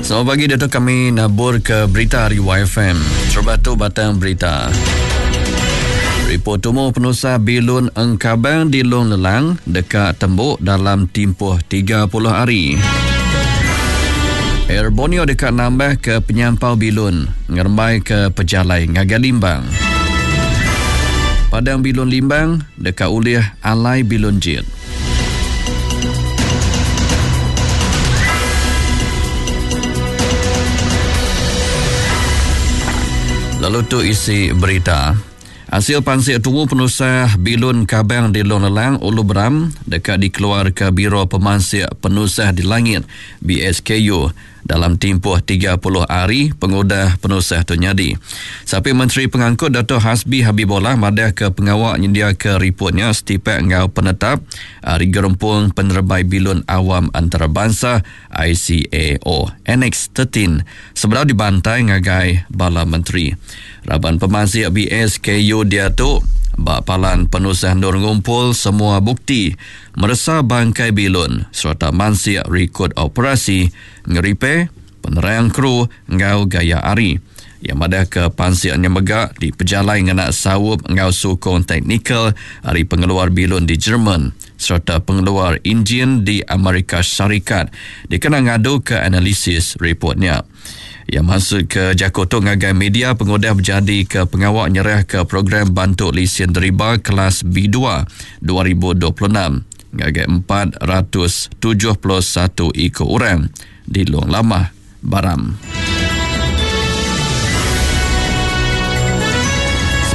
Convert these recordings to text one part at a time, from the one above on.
Selamat pagi diatu kami nabur ke berita ari YFM. Terubah tu batang berita. Ripot tumu penusah bilun engkabang di Long Lelang deka tembu dalam timpuh 30 hari. Air Borneo deka nambah ke penyampau bilun ngerembai ke pejalai ngagai Limbang. Padang bilun Limbang deka ulih alai bilun jet. Lalu tu isi berita. Asil pansik tumu penusah bilun kabang di Long Lelang, Ulu Beram deka dikeluarka Biro Pemansik Penusah di Langit, BSKU, dalam timpuh 30 hari pengudah penusah tu nyadi. Sapit Menteri Pengangkut Dato Hasbi Habibollah madahka pengawa nyendiaka riput nya setipak enggau penetap ari Gerempung Penerebai Bilun Awam Antarabansa, ICAO, Annex 13 sebedau dibantai ngagai bala menteri. Raban pemansik BSKU diatu ba palan penusah endur ngumpul semua bukti meresa bangkai bilun sereta mansik rikod operasi ngeripe penerang kru enggau gaya hari. Iya madahka pansik nya mega dipejalai ngena saup enggau sukung teknikal ari pengeluar bilun di Jerman sereta pengeluar injin di Amerika Syarikat dikena ngaduka analisis ripot nya. Iya mansutka jaku tu ngagai media pengudah bejadika pengawa nyerahka Program Bantu Lisin Deriba Kelas B2 2026 ngagai 471 iku orang di Long Lamah, Baram.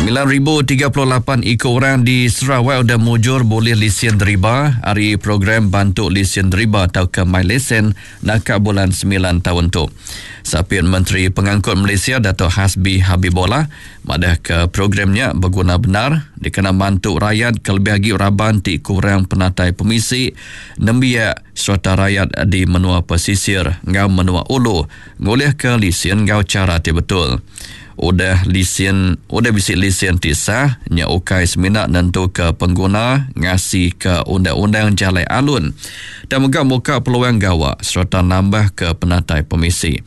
9,038 iku orang di Sarawak udah mujur bulih lisin deriba ari Program Bantu Lisin Deriba tauka MyLesen naka bulan semilan taun tu. Sapit Menteri Pengangkut Malaysia Datuk Hasbi Habibollah madahka program nya beguna bendar dikena mantu rayat kelebih agi raban ti kurang penatai pemisi, nembiak sereta rayat di menua pesisir enggau menua ulu ngulihka lisin enggau chara ti betul. Udah lisin udah bisi lisin ti sah nya ukai semina nentuka pengguna ngasika undang-undang jalai alun tang mega muka peluang gawa sereta nambahka penatai pemisi.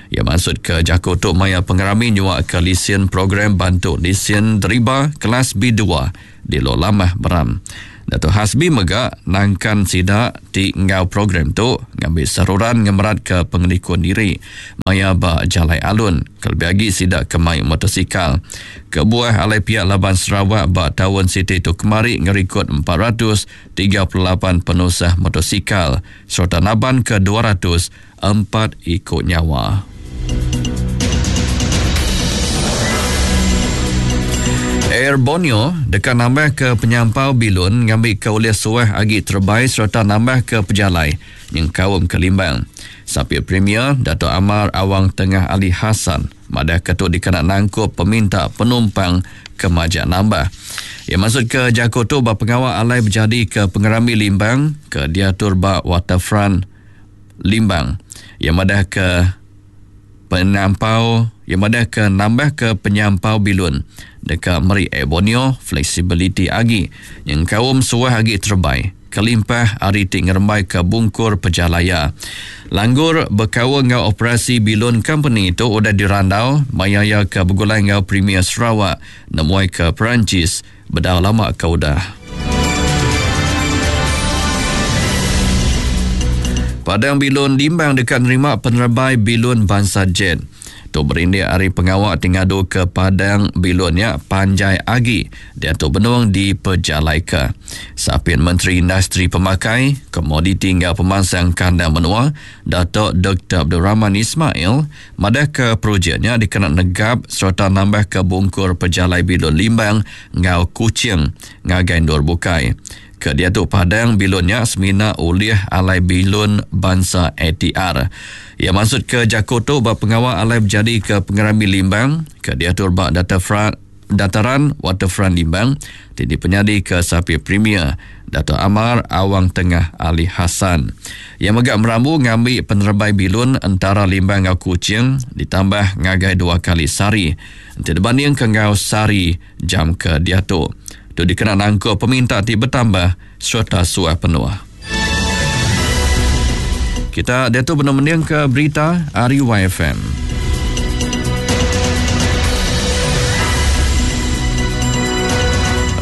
Iya mansutka jaku tu maya pengerami nyuaka lisin program bantu lisin deriba kelas B dua di Lok Lamah Beram. Datuk Hasbi mega nangkan sida ti enggau program tu ngambi seruran ngemeratka pengelikun diri maya ba jalai alun kelebih agi sida ke mai motosikal. Kebuah alai piak laban Sarawak ba taun siti tu kemari ngerikod 438 penusah motosikal sereta nabanka 204 iku nyawa. Air Borneo deka nambahka penyampau bilun ngambika ulih suah agi terebai sereta nambahka pejalai nyengkaum ke Limbang. Sapit Premier Datuk Amar Awang Tengah Ali Hasan madahka tu dikena nangkup peminta penumpang ke majak nambah. Iya mansutka jaku tu ba pengawa alai bejadika pengerami Limbang ke diatur ba Waterfront Limbang. Iya madahka penyampau iya madahka nambahka penyampau bilun deka meri Air Borneo fleksibiliti agi nyengkaum suah agi terebai kelimpah ari ti ngerembaika bungkur pejalai iya. Langgur bekaul enggau operasi bilun kompeni tu udah dirandau maya iya ke begulai enggau Premier Sarawak nemuai ke Perancis bedau lama ke udah. Padang Bilun Limbang deka nerima penerebai bilun bansa jet. Tu berindik ari pengawa ti ngaduka padang bilun nya panjai agi diatu benung dipejalaika. Sapit Menteri Industri Pemakai, Komoditi enggau Pemansang Kandang Menua, Datuk Doktor Abdul Rahman Ismail madahka projek nya dikena negap sereta nambahka bungkur pejalai bilun Limbang enggau Kuching ngagai endur bukai. Ke diatu padang bilun nya semina ulih alai bilun bansa ATR. Iya mansutka jaku tu ba pengawa alai bejadika pengerami Limbang ke diatur ba Dataran Waterfront Limbang ti dipenyadika Sapit Premier Datuk Amar Awang Tengah Ali Hasan. Iya mega merambu ngambi penerebai bilun entara Limbang enggau Kuching ditambah ngagai dua kali sehari enti dibandingka enggau sehari jam ke diatu. Tu dikena nangkup peminta ti betambah sereta suah penuh. Kita diatu benung mendingka berita ari YFM.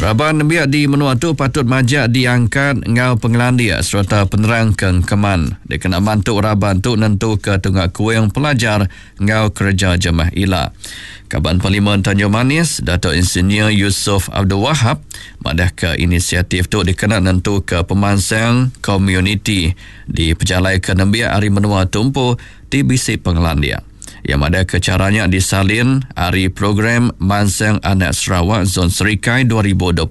Raban nembiak di menua tu patut majak diangkat enggau pengelandik sereta penerang ke engkeman dikena mantu raban tu nentuka tunga kuing pelajar enggau kereja jemah ila. Kaban Parlimen Tanjung Manis, Datuk Insinyur Yusof Abdul Wahab madahka inisiatif tu dikena nentuka pemansang komuniti dipejalaika nembiak ari menua tu empu ti bisi pengelandik. Iya madahka chara nya disalin ari Program Mansang Anak Sarawak Zon Serikai 2026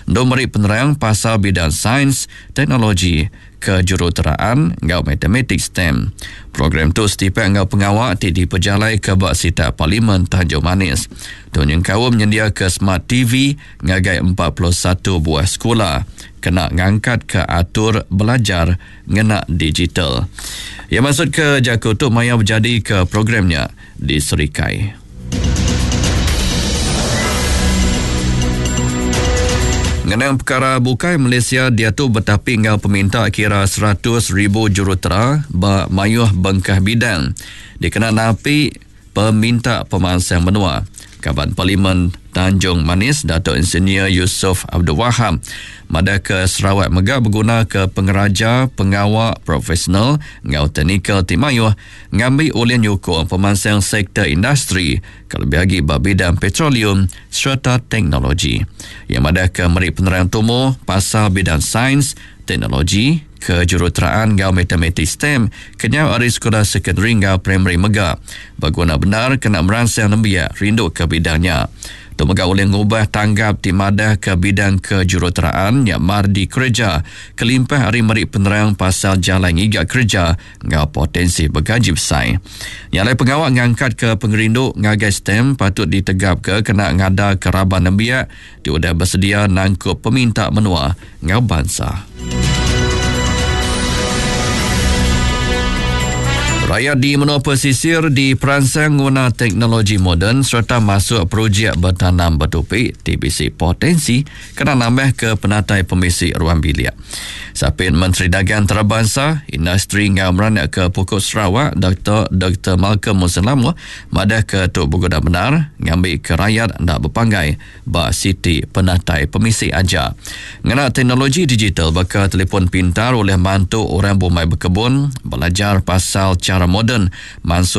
endur meri penerang pasal bidang sains, teknologi, Kejuruteraan enggau Matematik STEM. Program tu setipak enggau pengawa ti dipejalaika ba sitak Parlimen Tanjung Manis. Tu nyengkaum nyendiaka Smart TV ngagai 41 buah sekula kena ngangkatka atur belajar ngena digital. Iya mansutka jaku tu maya bejadika program nya di Serikai. Ngenang pekara bukai, Malaysia diatu betapi enggau peminta kira 100,000 jurutera ba mayuh bengkah bidang dikena napi peminta pemansang menua. Kaban Parlimen Tanjung Manis Datuk Insinyur Yusof Abdul Wahab madahka Sarawak mega begunaka pengeraja pengawa profesional enggau teknikal ti mayuh ngambi ulih nyukung pemansang sektor industri kelebih agi ba bidang petroleum sereta teknologi. Iya madahka meri penerang tumu pasal bidang sains, teknologi, kejuruteraan enggau matematik STEM kenyau ari sekula sekondari enggau primari mega beguna bendar kena meransang nembiak rinduka bidang nya. Tu mega ulih ngubah tanggap ti madahka bidang kejuruteraan nya mar dikereja kelimpah ari meri penerang pasal jalai ngiga kereja enggau potensi begaji besai. Nya alai pengawa ngangkatka pengerindu ngagai STEM patut ditegapka kena ngadaka raban nembiak ti udah besedia nangkup peminta menua enggau bansa. Rayat di menua pesisir diperansang nguna teknologi moden sereta masuk projek betanam betupi ti bisi potensi kena nambahka penatai pemisi ruang bilik. Sapit Menteri Dagang Antarabansa, Industri enggau Meranakka Pokok Sarawak, Doktor Doktor Malcolm Mussen Lamoh madahka tu beguna bendar ngambika rayat enda bepanggai ba siti penatai pemisi aja. Ngena teknologi digital baka telefon pintar ulih mantu orang bumai bekebun belajar pasal chara moden mansut.